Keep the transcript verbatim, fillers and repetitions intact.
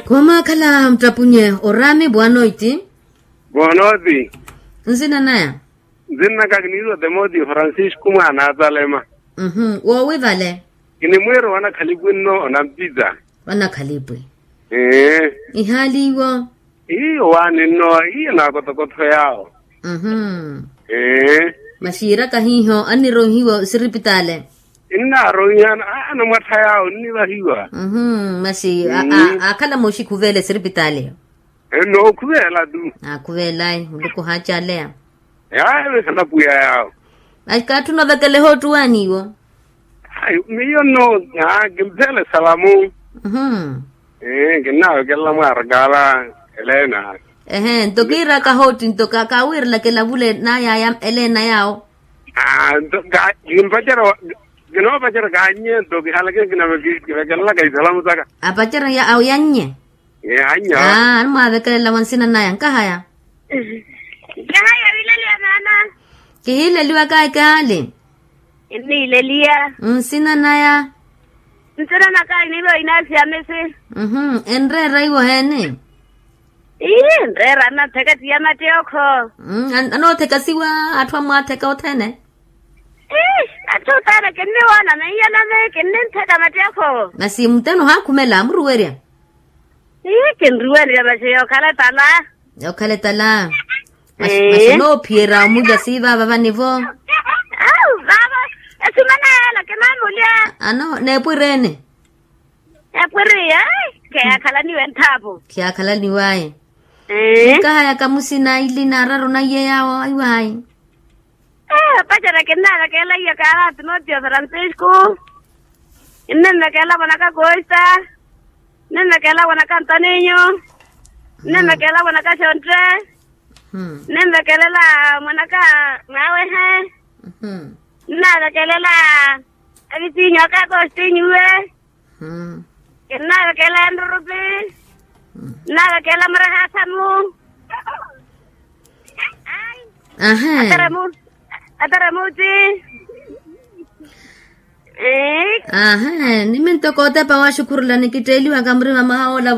Khumaakhala mutapwinye oraami bwanoiti. Bwanoiti. Nsina naya? Nsinnaka kiniitwa timoteo francisco mwaana atalema. Woowi vale? Kinimwiira owanakhalipwi nno onampita. Wanakhalipwi. Ee. Ihaali iwo? Iyo waani nno iyo naakotokotho yaawo. Ee. Masi yiiraka hiiho anniroihiwa osiripitaale? Nnaaroiha. Anamwattha yaawo nnivahiwa. Masi aakhala mooxikhuveela esiripitaale? Nookhuveela tu. Aakhuveelayi muluku ohaacaleya. Yaayo esanapwiya yaawo. Masi kaatthuna ovekela ehoottuwaani iwo? Miyo nno kimpheela esalamu. Kinnavekelela mwaarakaala. Elena. Ehe nto kiiraka hootti nto kaawiirelaka elavule naya ya elena yaawo. Nto kimpacerya. Kinoopacerya kaannye nto kihalakeni kinavekelelaka isalamu saka. Apacerya awo yannye. Aa animwaavekelela wa nsina naya nkahaya. Nkahaya wiileliya maana. Kihiileliwaka ekaali. Nniileliya. Nsina naya? Nsina naka iniiva inasi ya misi. Enreera iwo heeni? Ii nreera anantheka ti ya matteekho. Anoothekasiwa atthu amwaatheka othene. Ii atthu othene kinniwoona meiyo nami kinnintheka matteekho. Masi mutthene ohaakhumela amuruwerya. Ii kinruwerya masi yookhala etala. Yookhala etala. Masi onoophiyerya omulya siivaava vanivo? Awu vaavo esumana yeela kinaamulya. Ano neepwireene? Eepwiriye. Khiyaakhalaniwe nthaapu. Khiyaakhalaniwaye. Nkahayaka musina ili naararu naiye yaawo aiwahayi. Opacerya kinnaavekeela iya kaala timoteo francisco. Kinnimvekeela mwanaka koista. Kinnimvekeela mwanaka antoninyo. Kinnimvekeela mwanaka xontte. Kinnimvekelela mwanaka mwaawehe. Kinnaavekelela avisinyu aka akostinyuwe. Kinnaavekelela nrurupi. Kinnaavekelela murahaasamu. Ateremuti. Ahe. Niminto kootepa waxukhurula nikitteeliwaka murima mwaha ola.